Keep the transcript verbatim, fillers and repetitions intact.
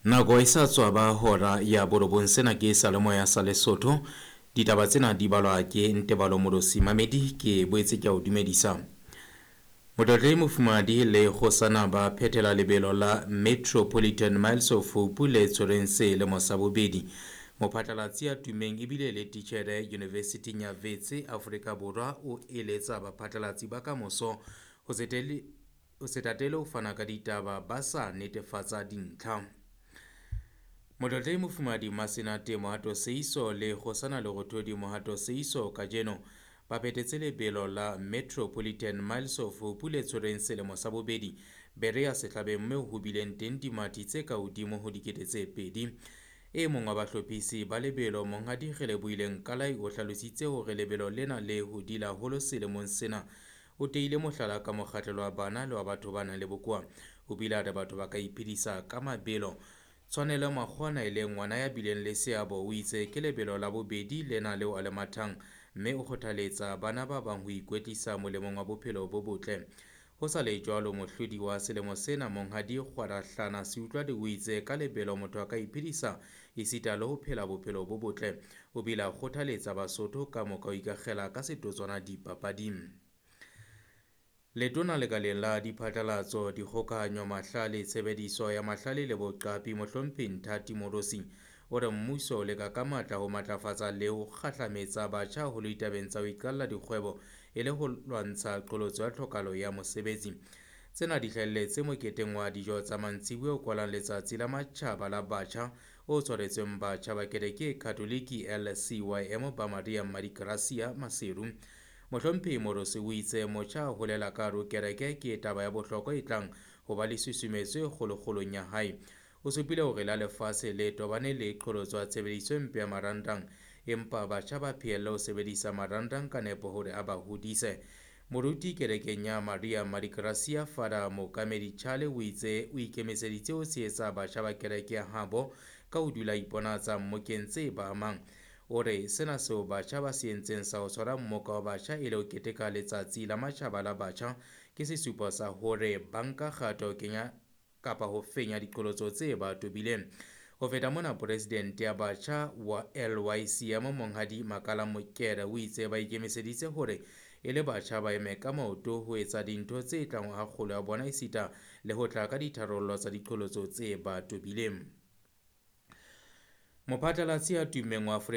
Nako e sa tswa ba hora ya borobong. Sena ke Salemoya sa Lesotho. Ditaba tsena di balwa ke Ntebalo Molosi Mamedi. Ke boetse ke a o dumedisa. Motlotlehi Mofumahadi le kgosana ba phethela lebelo la Metropolitan Miles of Hope le tshwereng selemo sa bobedi. Mophatlalatsi ya tummeng ebile le titjhere Yunivesithing ya Wits Afrika Borwa o eletsa baphatlalatsi ba kamoso ho se tele ho se tatele ho fana ka ditaba ba sa netefatsa dintlha. Motlotlehi Mofumahadi Masenate Mohato Seiso le kgosana Lerothodi Mohato Seiso kajeno ba phethetse lebelo la Metropolitan Miles of Hope le tshwereng selemo sa bobedi Berea Sehlabeng mme ho bileng teng dimathi tse ka hodimo ho dikete tse pedi. E mong wa bahlophisi ba lebelo Monghadi Relebohile Nkalai o hlalositse hore lebelo lena le hodile haholo selemong sena. O teile mohlala ka mokgahlelo wa bana le wa batho ba nang le bokowa. O bile a re batho ba ka iphedisa ka mabelo. Tshwanelo Makgoana e leng ngwana ya bileng le seabo o itse ke lebelo la bobedi lena leo a le mathang mme o kgothaletsa bana ba bang ho ikwetlisa molemong wa bophelo bo botle. Ho sa le jwalo, mohlodi wa selemo sena Monghadi Kgwarahlana Seutlwadi o itse ka lebelo motho a ka iphedisa esita le ho phela bophelo bo botle. O bile a kgothaletsa Basotho ka moka ho ikakgela ka setotswana dipapading. Letona lekaleng la diphatlalatso, dikgokahanyo, mahlale, tshebediso ya mahlale le boqapi Mohlomphehi Nthati Morosi o re mmuso o leka ka matla ho matlafatsa le ho kgahlametsa batjha haholo ditabeng tsa ho iqalla dikgwebo e le ho lwantsha qholotso ya tlhokahalo ya mosebetsi. Tsena di hlahelletse moketeng wa dijo tsa mantsibuya o kwalang letsatsi la matjhaba la batjha o tshwaretsweng batjha ba kereke e Katoliki L C Y M ba Maria Mmadigracia Maseru. Mohlomphehi Morosi o itse motjha a holela ka hare ho kereke ke taba ya bohlokwa e tlang ho ba le susumetso e kgolokgolong ya hae. O supile hore la lefatshe le tobane le qholotso ya tshebediso e mpe ya marangrang, empa batjha ba phehelle ho sebedisa marangrang ka nepo hore a ba hodise. Moruti kerekeng ya Maria Mmadigracia Father Mookamedi Chale o itse o ikemiseditse ho tshehetsa batjha ba kereke ya habo ka ho dula iponatsa mmokeng tse ba amang. O re sena seo batjha ba se entseng sa ho tshwara mmoka wa batjha e le ho keteka letsatsi la matjhaba la batjha ke sesupo sa hore ba nka kgato ho kenya kapa ho fenya diqholotso tse ba tobileng. Ho feta mona, presidente ya batjha wa L Y C M Monghadi Makala Mokere o itse ba ikemiseditse hore e le batjha ba eme ka maoto ho etsa dintho tse tlang ho kgolo ya bona esita le ho tla ka ditharollo tsa diqholotso tse ba tobileng. Mophatlalatsi ya tummeng wa Afrika